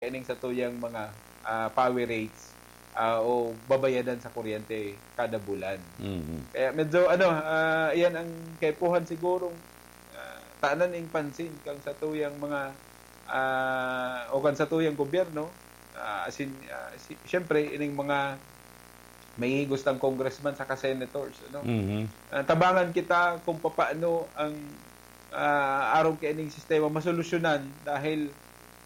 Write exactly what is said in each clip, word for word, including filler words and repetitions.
ining satuyang mga, ah, power rates, ah, o babayadan sa kuryente kada bulan. Mhm. Kaya medyo, ano, ah, iyan ang kaipuhan sigurong, ah, tanan ning pansin kang satuyang mga, ah, o kan satuyang gobyerno, ah, as in, ah, si-, siyempre, ining mga may gustang congressman saka senators, ano? Mhm. Ah, tabangan kita kung papaano ang, ah, arog kaining sistema masolusyonan dahil,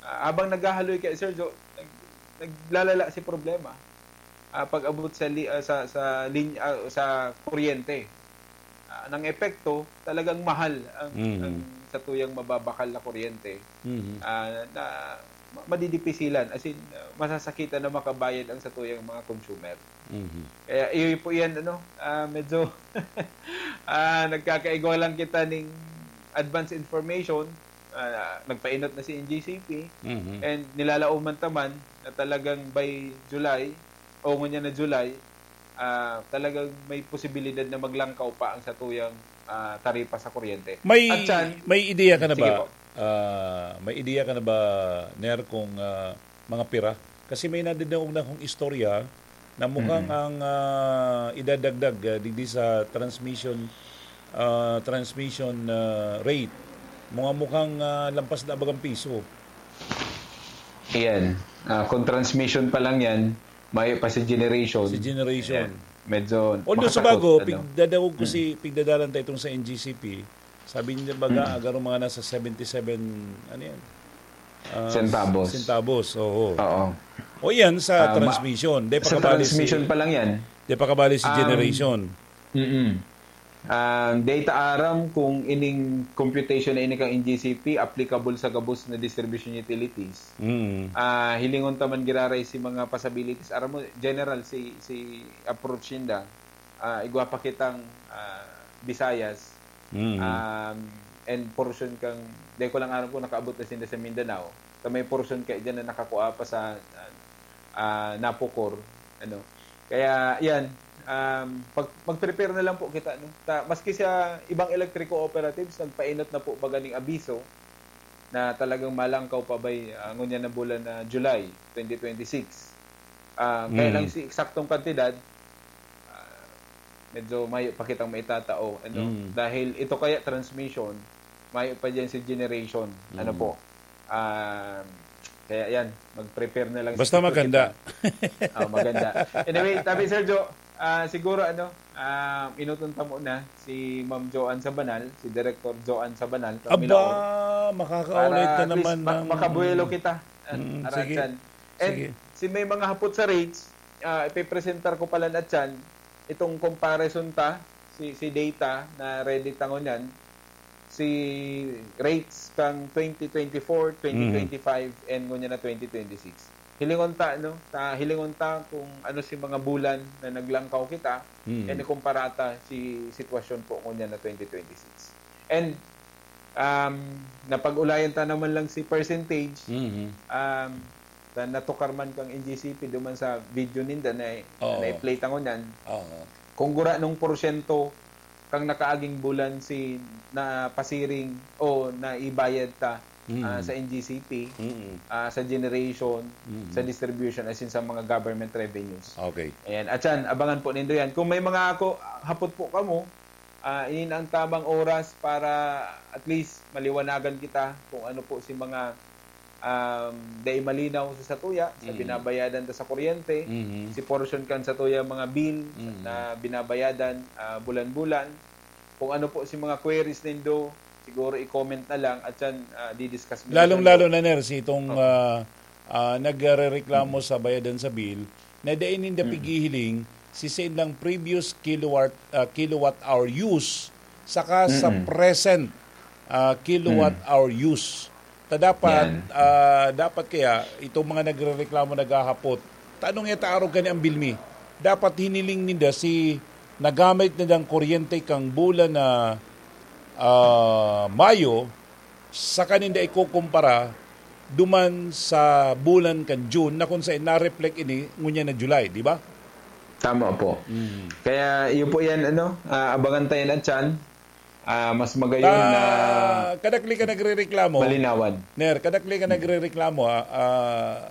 ah, habang naghahaloy kay Sergio, nag-, naglalala si problema. Ah, pag-abot sa li-, ah, sa, sa linya, ah, sa kuryente. Ah, ng epekto, talagang mahal ang, Mhm. ang satuyang mababakal na kuryente. Mhm. Ah, na ma-, madidipisilan, as in, ah, masasakitan na makabayad ang satuyang mga consumer. Mhm. Kaya iyo po yan, ano, ah, medyo, ah, nagkakaigwa lang kita ning advance information. Ah, nagpainot na si N G C P, Mhm. and nilalaom man taman na talagang by July, o ngunyan na July, ah, talagang may posibilidad na maglangkaw pa ang satuyang, ah, taripa sa kuryente. May, At yan, may ideya ka na sige ba? po. Ah, may ideya ka na ba, Ner, kung, ah, mga pira? Kasi may nadidangog na akong istorya na mukhang Mm. ang, ah, idadagdag, ah, digdi sa transmission, ah, transmission, ah, rate, mga mukhang, ah, lampas na bagang piso. Iyan. Ah, kung transmission pa lang yan, may pa si generation. Si generation. Ayan. Medyo Although sa makasakot, bago, ano? pigdadangog ko Hmm. si, pigdadalan ta itong sa N G C P, sabi niya baga, Hmm. agaro mga nasa seventy seven, ano yan? Ah, Centavos. centavos, oo. Oo. O yan, sa Ah, ma-, transmission. Di sa pa kabali si, transmission pa lang yan. di pa kabali si Um, generation. Mm-mm. Ah, di ta aram kung ining computation na ini kang N G C P applicable sa gabos na distribution utilities. Mm. Ah, hilingon ta man giraray si mga possibilities. Aram mo, general, si, si approach ninda, ah, igwa pa kitang, ah, Visayas, Mm. um, and portion kang, di ko lang aram kung nakaabot na sinda sa Mindanao. Sa may portion kay dyan na nakakua pa sa, ah, ah, Napocor, ano. Kaya, yan, um, pag, mag-prepare na lang po kita, no? Ta-, maski sa ibang electric cooperatives, nagpainot na po baga ning abiso na talagang malangkaw pa bay, ah, ngunyan na bulan na July twenty twenty-six. Ah, kaya lang Mm. si eksaktong kantidad, ah, medyo mayo pa kitang maitatao, ano? Mm. Dahil ito kaya transmission, mayo pa dyan si generation, ano Mm. po? Ah, kaya yan, mag-prepare na lang Basta siguro maganda. kita. Ah, maganda. Anyway, Tabi Sergio, ah, siguro, ano, ah, inuton ta muna si Ma'am Joanne Sabanal, si Director Joanne Sabanal, Aba, Kamilaon, makakaulay para ka at least naman ma-, ng makabuelo kita, ah, Mm, sige. Aratsan. And Sige. si may mga hapot sa rates, ah, ipipresentar ko pala na Chan, itong comparison ta, si, si data na ready ta ngunyan, si rates kang twenty twenty-four, Mhm. twenty twenty-five, and ngunyan na twenty twenty-six. Hilingon ta, no? Ta, hilingon ta kung ano si mga bulan na naglangkaw kita, Mhm. and ikumpara ta si sitwasyon po ngunyan na twenty twenty-six. And, um, napag-ulayan ta naman lang si percentage, Mhm. um, na natukar man kang N G C P duman sa video ninda na, Oo. na i-play ta ngunyan. Oo. Kung gura nung porsyento kang nakaaging bulan si napasiring o naibayad ta, Mm. ah, sa N G C P, Mm. ah, sa generation, Mm. sa distribution, as in sa mga government revenues. Okay. Ayan. At yan, abangan po nindo yan. Kung may mga ako, hapot po kamo, ah, ini na ang tamang oras para at least maliwanagan kita kung ano po si mga, um, dai malinaw sa satuya, sa Mm. binabayadan ta sa kuryente, Mm. si portion kan satuya mga bill Mm. na binabayadan, ah, bulan-bulan. Kung ano po si mga queries nindo, siguro i-comment na lang at yan, ah, di-discuss mi Lalong-lalo na, Ner, si itong, Oo. ah, ah, nagrereklamo Mm. sa bayadan sa bill, na dai ninda Mm. pighihiling si sain lang previous kilowatt, ah, kilowatt hour use saka sa Mm. present, ah, kilowatt Mm. hour use. Ta dapat, Yan. ah, dapat kaya itong mga nagrereklamo, naghahapot, "Tanong ya ta arog kani ang bill mi?" Dapat hiniling ninda si nagamit nindang kuryente kang bulan na, ah, Mayo, saka ninda ikukumpara duman sa bulan kan June na kung saan na-reflect ini ngunyan na July, di ba? Tama po. Mm. Kaya iyo po yan, ano, ah, abangan tayo na tiyan. Ah, mas magayon Ta-, na kadakli ka nagrereklamo. malinawan. Ner, kadakli ka Mm. nagrereklamo, ah, ah,